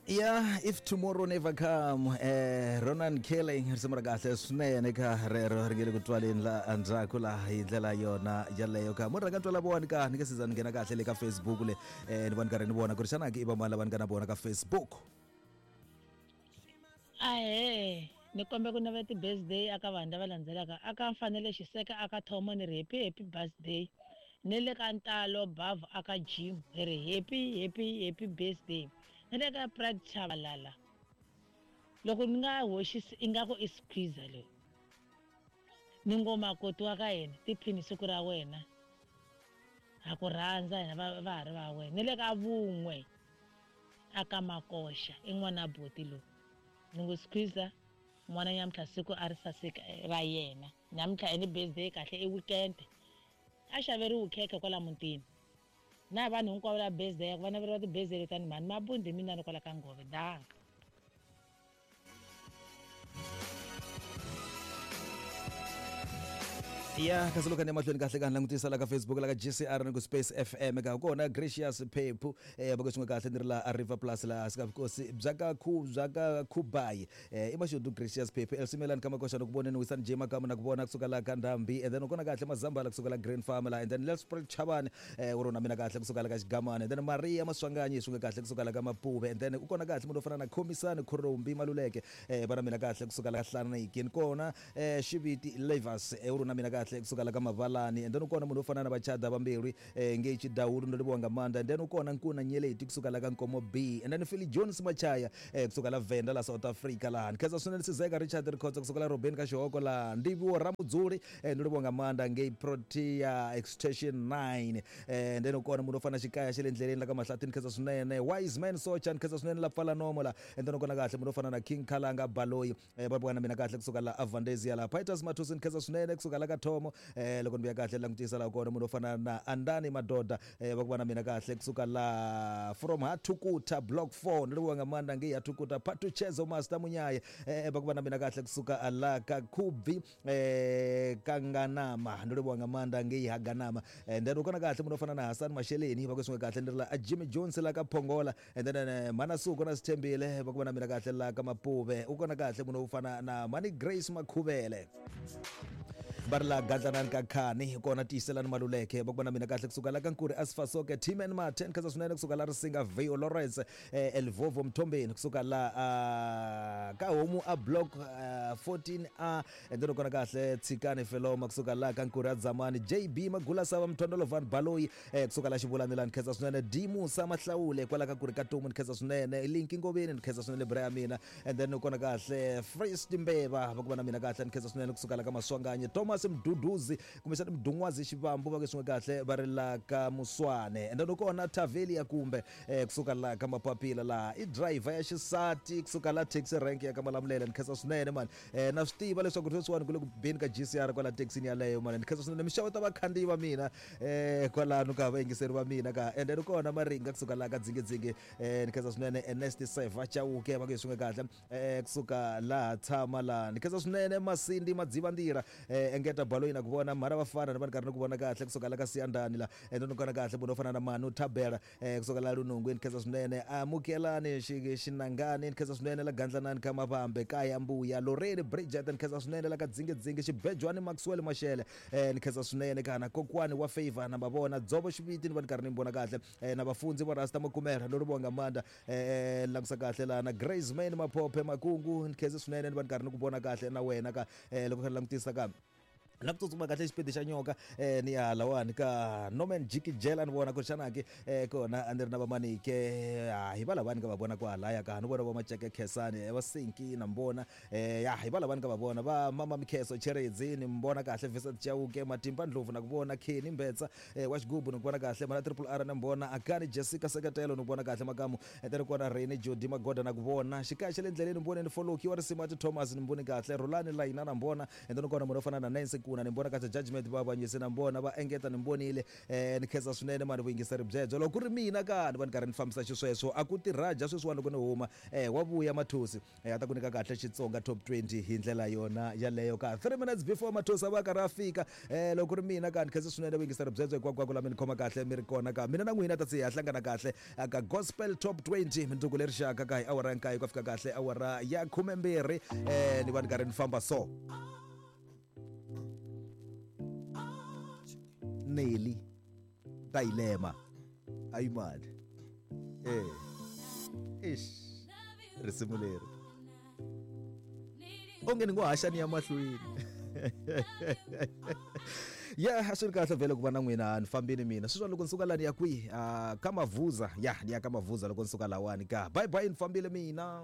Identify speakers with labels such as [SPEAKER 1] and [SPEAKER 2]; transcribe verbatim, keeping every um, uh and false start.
[SPEAKER 1] Yeah, if tomorrow never come, eh, Ronan Kelly risimu ra kahle swinene ka rero ri nge le ku twaleni la endzhaku laha hi ndlela yona yaleyo ka munhu rhanga twala vona ka ni nge siza ni nghena kahle le ka Facebook le eh, ni vona karhi ni vona ku ri xana ke i vamani lava ni nga na vona ka Facebook.
[SPEAKER 2] Ahee, ni kombe ku navela ti-birthday aka vanhu lava landzelaka aka Mfanelo Xiseka aka Thomo ni ri happy happy birthday, ni le ka Ntalo Bavhu aka Jim hi ri happy happy happy birthday, ni le ka Pride Chabalala loko ni nga hoxisi ingaku i squeezer leyi ni ngo makoti wa ka yena tiphini siku ra wena ha ku rhandza hina va va ha ri va wena, ni le ka Vun'we aka Makoxa i n'wana buti loyi ni ngo squeezer n'wana nyamuntlha siku a ri saseka ra yena nyamuntlha i ni birthday kahle i weekend a xaveriwi khekhe kwala mutini na vanhu hinkwavo la birthday va naveriwa ti-birthday letani mhani mabundi mina ni kwala ka Ngove danka.
[SPEAKER 1] Ya kasi loko ni mahlweni kahle ka langutisa la ka Facebook la ka G C R ni ku Space F M ka kona Gracious Phephu eh va swin'we kahle ni ri la River Plus la sika vukosi bya ka khu bya ka Khubai eh i mashudu Gracious Phephu Elsimelani ka Makoxa ni ku voneni Wisani J Makamu na ku vona kusuka la ka Ndhambi and then kona kahle Mazambala kusuka la Green Farm la and then Let's Spread Chabani eh u rona mina kahle kusuka la ka Xigamani and then Maria Maswanganyi swin'we kahle kusuka la ka Mapuve and then u kona kahle munhu wo fana na Khomisani Khurumbi Maluleke eh va na mina kahle kusuka la ka Hlaniki ni kona eh Xiviti Levers eh u rona mina kahle kusuka la ka Mavalani and then ukona munhu wo fana na Vachada vambirhi eh nge Chidawulu ndo livhuwa nga maanḓa and then ukona Nkuna Nyeleti kusuka la ka Nkomo B and then Philly Jones Machaya eh kusuka la Venda la South Africa la nkhensa swinene Sizeka Richard Rikhotso kusuka la Robin ka Xihoko la Ndiviwo Ramudzuli eh ndo livhuwa nga maanḓa ngei Protea Extension nine eh and then ukona munhu wo fana Xikaya xa le ndleleni la ka Mahlathi nkhensa swinene Wise Man Socha nkhensa swinene la Pfala Nomo la and then ukona kahle munhu wo fana na King Khalanga Baloyi eh va vona mina kahle kusuka la Avandezia la Pieters Mathusi nkhensa swinene kusuka la ka Thomo eh loko ni vuya kahle langutisa la kona munhu wo fana na Andani Madoda eh va ku vona mina kahle kusuka la from Hatukuta block four ni livhuwa nga maanḓa ngei Hatukuta Patuchezo Master Munyaye eh va ku vona mina kahle kusuka la ka Khubvi eh Kanganama ni livhuwa nga maanḓa ngei Haganama and then ukona kahle munhu wo fana na Hassan Masheleni va ku swin'we kahle ni ri la Jimmy Jones la ka Phongola and then Manasuku na Sithembile va ku vona mina kahle la ka Mapuve ukona kahle munhu wo fana na Mani Grace Makhuvele va ri la Gadlanani ka Khani kona Tiyiselani Maluleke va ku vona mina kahle kusuka la ka Nkuri Asfasoke Timen Martin khensa swinene kusuka la Risinga Vio Lawrence eh, Elvovo Mthombeni kusuka la uh, ka Homu a block uh, fourteen A and then kona kahle Tshikani Feloma kusuka la ka Nkuri Adzamani J B Magula Sava Mthondolo Van Baloyi eh, kusuka la Xivulani la nkhensa swinene D Musa Mahlawule kwala ka Nkuri ka Tomu nkhensa swinene Linki Ngoveni nkhensa swinene bra ya mina and then kona kahle Frist Mbeva va ku vona mina kahle nkhensa swinene kusuka la ka Maswanganyi Thomas Mduduzi kumbexana Mdungwazi Xivambu va ku swin'we kahle va ri la ka Muswane and then kona Tavelia kumbe eh, kusuka la ka Mapapila la i driver ya xisati kusuka la taxi rank ya ka Malamulele nkhensa swinene mani eh, na swi tiva leswaku sweswiwani ku le ku beni ka G C R kwala taxini yaleyo mani nkhensa swinene mixavo ta vakhandziyi va mina eh, kwalano ka vayingiseri va mina ka and then kona Maringa kusuka la ka Dzingidzingi eh, nkhensa swinene Ernest Seva Chauke va ku swin'we kahle eh, kusuka laha tshama la nkhensa swinene Masindi Madzivandira eh, engeta Baloyi na ku vona mhara vafana ni va ni karhi ni ku vona kahle kusuka la ka Siyandani la and then kona kahle munhu wo fana na Manu Thabela eh, kusuka la Lunungwini nkhensa swinene Amukelani Xinangani nkhensa swinene la Gandlanani ka Mavambe kaya Mbuya Lorraine Bridget nkhensa swinene la ka Dzingidzingi Xibejwani Maxwell Mashele eh, nkhensa swinene kana kokwani wa Favor na va vona Dzovo Xiviti ni va ni karhi ni vona kahle eh, na vafundzi va Rasta Makumela lo ri vonga Manda eh, langusa kahle la na Grace Man Maphophe Makungu nkhensa swinene ni va ni karhi ni ku vona kahle na wena ka eh, loko kha langutisa ka na ku tsutsuma kahle xipidi xa nyoka eh, ni ya lawani ka Norman Jiki Jela ni vona ku xana ke eh, kona a ni ri na vamanike hi va lavani ka va vona kwalaya ka ni vona va Maceke Khesani va Sinki na mbona eh, ya hi va lavani ka va vona va Mama Mikheso Cheredzi ni mbona kahle Vincent Chauke Matimba Ndlovu na ku vona Kenny Mbetsa eh, wa Xigubu ni ku vona kahle mana Triple R na mbona Akani Jessica Seketelo ni ku vona kahle Makamu and kona Rene Jody Magoda na ku vona Xikaya xa le ndleleni ni mbone ni Foloki wa Risimati Thomas ni mbone kahle Rolani Layina na mbona and then kona munhu wo fana na Nancy Nkuna ni vona kahle Judgment va avanyisi na vona va engeta ni vonile eh ni khensa swinene mani vuyingiseri byebyo. Loko ku ri mina ka ni va ni karhi ni fambisa xisweswo a ku tirhaja sweswiwani loko ni huma eh wa vuya Mathosi eh a ta ku nyika kahle Xitsonga top twenty hi ndlela yona yaleyo ka three minutes before Mathosi a va karhi a fika. Eh loko ku ri mina ka ni khensa swinene vuyingiseri byebyo hinkwako la mi ni khoma kahle mi ri kona ka mina na n'wina ta se hi hlangana kahle ka Gospel Top twenty mindzuku leri xaka ka hi awara ya nkaye ku fika kahle awara ya khumembirhi eh ni va ni karhi ni famba so Nelly Tailema ayimali eh ish risimu leri onge ni ngo haxa ni ya mahlweni. Ya a swi ri kahle vhele ku va na n'wina ni fambini mina sweswi loko ni suka lani ya kwihi ka Mavuza ya ni ya ka Mavuza loko ni suka lawani ka bye bye ni fambile mina.